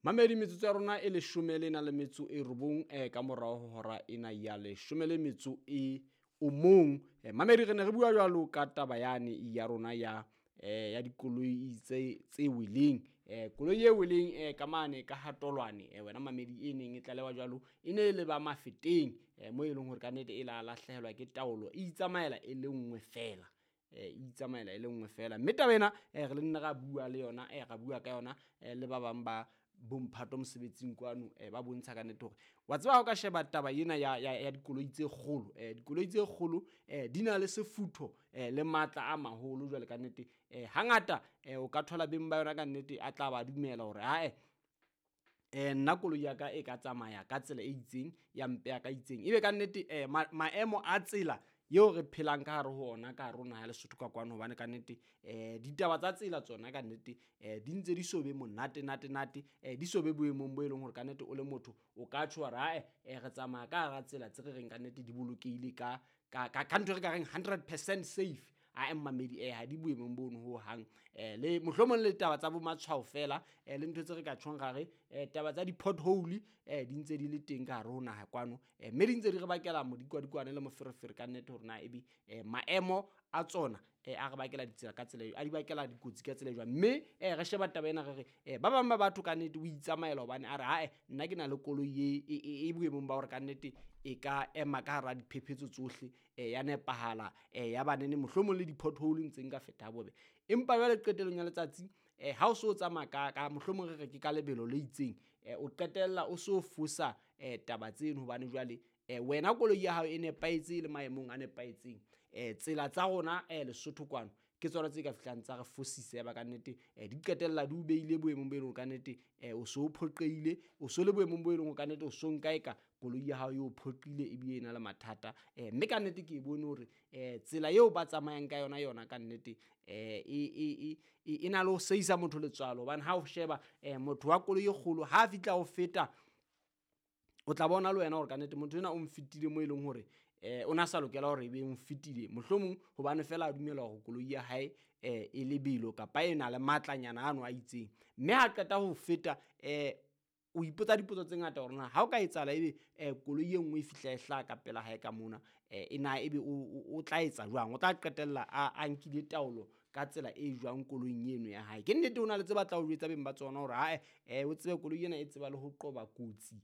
Mamedi, metsotso ya rona e leshome le na le metso e robong ka morao ho hora ena ya leshome le metso e o mong. Mamedi, re ne re bua jwalo ka taba yane ya rona ya ya dikoloi tse weleng. Koloi e weleng ka mane ka hatolwane, wena mamedi, e neng e tlalewa jwalo, e ne le ba Mafeteng, mo e leng hore kannete e la lahlehelwa ke taolo, e itsamaela e le nngwe fela, e itsamaela e le nngwe fela. Mme taba ena re le nna ra bua le yona, ra bua ka yona le ba bang ba bomphato mosebetsing kwano, ba bontsha ka nnete hore wa tseba ha o ka sheba taba ena ya dikoloi tse kgolo, dikoloi tse kgolo di na le sefutho le matla a maholo. Jwale ka nnete hangata o ka thola beng ba yona ka nnete a tla ba dumela hore ae, nna koloi ya ka e ka tsamaya ka tsela e itseng, ya mpeha ka itseng, ebe ka nnete maemo a tsela eo re phelang ka hare ho ona ka hare ho naha ya Lesotho ka kwano, hobane ka nnete ditaba tsa tsela tsona ka nnete di ntse di so be monate nate nate, di so be boemong bo e leng hore ka nnete o le motho o ka tjho wa re ae, re tsamaya ka hara tsela tse re reng ka nnete di bolokehile ka ntho e re ka reng 100% safe. Ae mmamedi, ha di boemong bono ho hang, le mohlomong le taba tsa bo matshwao fela, le ntho tse re ka tjhong ra re taba tsa di-pothole di ntse di le teng ka hare ho naha kwano, mme di ntse di re bakela modikwadikwane le moferefere ka nnete hore na ebe maemo a tsona a re bakela ditsela ka tsela a di bakela dikotsi ka tsela e jwang. Mme re sheba taba ena re re ba bang ba batho ka nnete o itsamaela hobane a re ae, nna ke na le koloi e boemong ba hore ka nnete e ka ema ka hara diphephetso tsohle, ya nepahala, ya banene mohlomong le di-pothole ntse nka feta ha bobe. Empa jwale qetellong ya letsatsi ha o so tsamaya ka mohlomong re re ke ka lebelo le itseng, o qetella o so fosa taba tseno, hobane jwale wena koloi ya hao e nepahetse, e le maemong a nepahetseng. Tsela tsa rona Lesotho kwano ke tsona tse ka fihlang tsa re fosisa, ya ba kannete di qetella di o beile boemong bo e leng hore kannete o so phoqeile, o so le boemong bo e leng hore kannete o so nka eka koloi ya hao e o phoqile ebile e na le mathata. Mme kannete ke e bone hore tsela eo ba tsamayang ka yona yona kannete e na le ho seisa motho letswalo, hobane ha o sheba motho wa koloi e kgolo ha a fihla ho feta, o tla bona le wena hore kannete motho enwa o mfetile mo e leng hore o na sa lokela hore ebe o mfetile, mohlomong hobane fela a dumela hore koloi ya hae e lebelo kapa e na le matlanyana ano a itseng. Mme ha qeta ho feta, o ipotsa dipotso tse ngata hore na ha o ka etsahala ebe koloi e nngwe e fihla e hlaha ka pela hae ka mona, e na ebe o tla etsa jwang, o tla qetella a nkile taolo ka tsela e jwang koloing eno ya hae. Ke nnete ho na le tse batla ho jwetsa beng ba tsona hore ae, o tsebe koloi ena e tseba le ho qoba kotsi.